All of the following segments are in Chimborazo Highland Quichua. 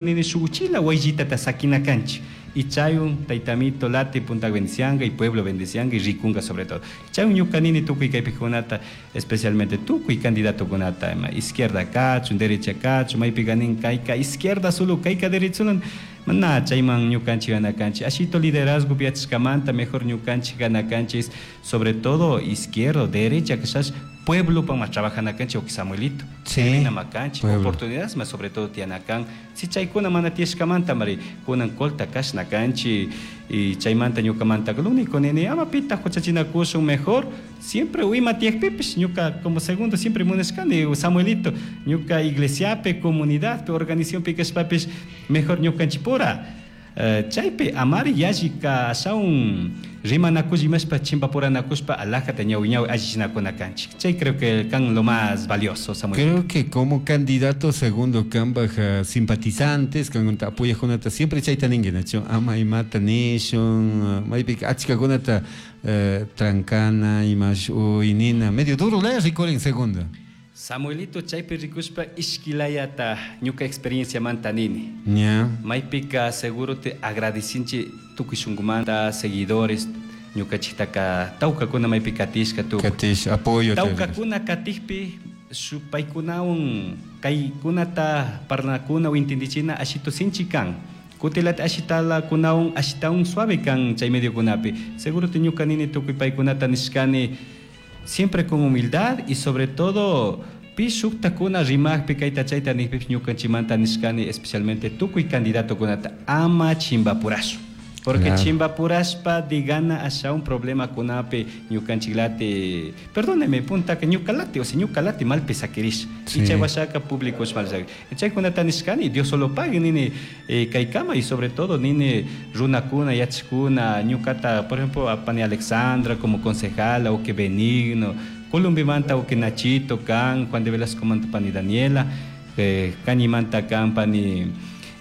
Nini shuk uchila wayllitata sakina kanchik y chaywan tayta Amito lati punta bendicianga y pueblo bendicianga y rikunga sobre todo. Chaywan ñuka nini tukuy kaypikunata, especialmente tukuy candidatokunata, ima izquierda kachun, derecha kachun, maypica nin kayka izquierda solo, kayka derecha solo, mana chayman ñukanchik gana kanchik. Ashito liderazgo yachashkamanta mejor ñukanchik gana kanchik, sobre todo izquierda, derecha kashash pueblo pa mas trabajana kanchik o Samuelito. Sí, Makanchik, pueblo. Oportunidades más sobre todo tiyanakan. Si chaykuna mana tiyashkamanta mari kunan colta kashna kanchik y chaymanta ñukamanta lo único nini ama pita huchachinakushun, mejor siempre ima tiyakpipish ñuka como segundo siempre munashkani, Samuelito, ñuka iglesiapi, comunidadpi, organizacionpi kashpapish mejor ñukanchikpura chaypi amari yallika ashawan rimanakush imashpa chimpapuranakushpa alajata ñawi ñawi allichinakuna kanchik. Chay creo que kan lo más valioso, Samuel. Creo que como candidato segundo kambaj simpatizantes kankunata apoyajkunata siempre chayta ninki, nachu? Ama imata nishun, maypika achkakunata trancana imash uynina medio duro laya rikurin, segundo. Samuelito, chaypi rikushpa ishkilayata ñuka experienciamanta nini. Maypika seguro te agradecinchi tukuy shunkumanta seguidores ñukachiktaka tawkakuna maypi katishka tukuy. Katish apoyo. Tawkakuna katikpi paykunawan kaykunata parlanakuna o entendichina ashitu sinchi kan. Kutilata ashitala kunawan ashitawan suave kan chay mediokunapi. Seguro te ñuka nini tukuy paykunata nishkani siempre con humildad y sobre todo pi shuktakuna rimakpi kayta chayta nikpipish ñukanchimanta nishkani, especialmente tukuy candidatokunata ama chimbapurashun. Porque chimbapurashpa digana asha un problema kunapi ñukanchiklati, perdóneme, puntaka ñukalati, o sea, ñukalati malpi sakirish. Y chay washaka público mal sakirish. Chaykunata nishkani, Dios solo pague nini, kaykama y sobre todo nini runakuna, yachkuna, ñukata, por ejemplo, a pani Alexandra como concejala, o que Benigno, Columbimanta o que Nachito, kan, Juan de Velasco manta pani Daniela, Cañimanta kan pani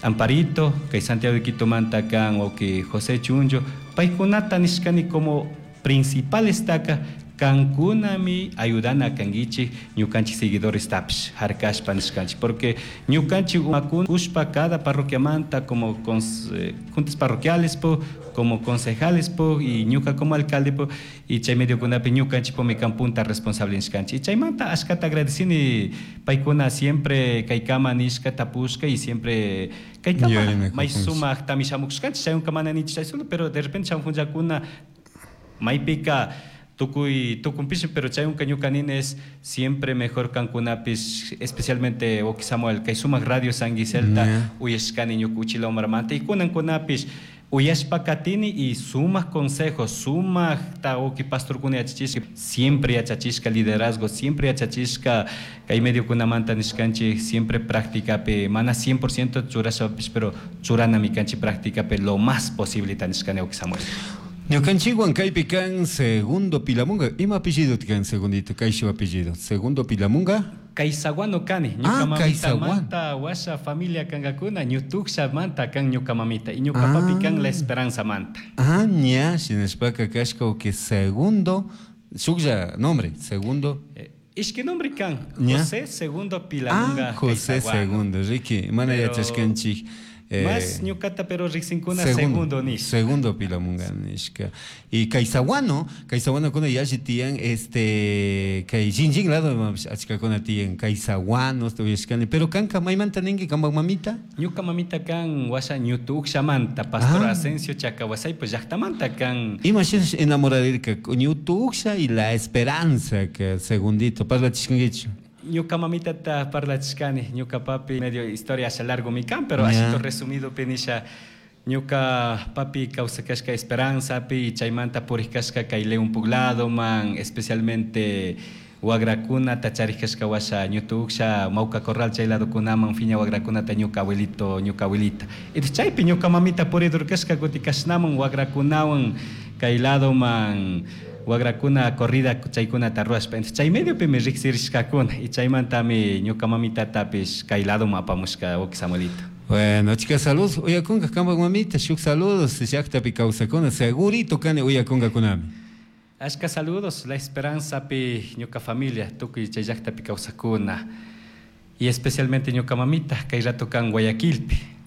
Amparito, que Santiago de Quito manta kan o que José Chuncho, paykunata nishkani como principal estaca, kankunami ayudana kanguichik ñukanchik seguidores tapish harkashpa nishkanchik, porque ñukanchik umakuna kushpa cada parroquiamanta como juntas parroquiales po, como concejales po, y ñuka como alcalde po, y chay mediokunapi ñukanchik po mi kan punta responsable nishkanchik. Y chaymanta ashkata agradecini paykuna siempre kaykama nishka tapushka y siempre kaykama Yuyarina may kapunchik. Sumak tamishamukushkanchik, chayunka mana ninchik chay solo, pero de repente shamukunllakuna maypika tukuy tukunpish, pero chayunka ñuka nini es siempre mejor kankunapis, especialmente oki Samuel, kay sumak radio San Giselta, uyashkani ñuka uchila umarmanta, y kunankunapis uyashpa katini y sumak consejos, sumak ta oki pastorkuna yachachishka, siempre yachachishka liderazgo, siempre yachachishka kay mediokunamanta nishkanchik, siempre prácticapi, mana 100% churashapish, pero churanami kanchik prácticapi lo más posible ta nishkani, oki Samuel. Ñukanchikwan kaypi kan Segundo Pilamunga. Ima apellido kan segundito? Kayshu apellido. Segundo Pilamunga? Kaysaguano kani. Ñuka Ah, mamita Kaysaguano. manta washa familia kankakuna, ñutuksha manta kan ñuka mamita. Y ñuka Ah. papi kan La Esperanza manta. Ah, ña, shinashpaka kashka que segundo, shuklla nombre, segundo. Ishki nombre kan, Ña. José Segundo Pilamunga Ah, José Kaysaguano. Segundo, Ricky, mana Pero yachashkanchik. Más ñukata pero riksinkuna segundo, segundo nish. Segundo Pilamunga nishka. Y Kaysaguano, Kaysaguano kuna yashi tiyan, kay Jinjin lado, achkakuna tiyan, Kaysaguano, estoy uyashkani. Pero kanka maymanta ninki, kanpak mamita? Ñuka mamita kan washa ñutukshamanta, Pastor Ah. Asensio Chacawasay, pues llaktamanta kan. Ima shinash enamorarirka, ñutuksha y la esperanza, que segundito, parlachishkankichu. Ñuka mamita ta parlachishkani, ñuka papi medio historia hacia largo mi kan, pero así resumido penisha. Ñuka papi kawsakashka Esperanza pi, chaymanta purishkashka kay León Poblado man, especialmente wagrakuna tacharishkashka washa ñutuksha Mauca Corral chay lado kunaman fiña wagrakunata ñuka abuelito, ñuka abuelita. Y chaypi ñuka mamita puridurkashka kutikashnaman wagrakunawan kay lado man wagrakuna corrida chaykunata ruwashpa. Entonces, chay mediopi mi riksirishkakuna y chaymantami ñuka mamitatapish kay lado apamushka oki Samuelito. Bueno, chicas, saludos. Uyakunga kambak mamita, shuk saludos, llaktapi kawsakuna, segurito kani uyakunga kunami. Ashka saludos, la esperanza pi ñuka familia, tukuy chay llaktapi kawsakuna. Y especialmente ñuka mamita, kay rato kan Guayaquilpi.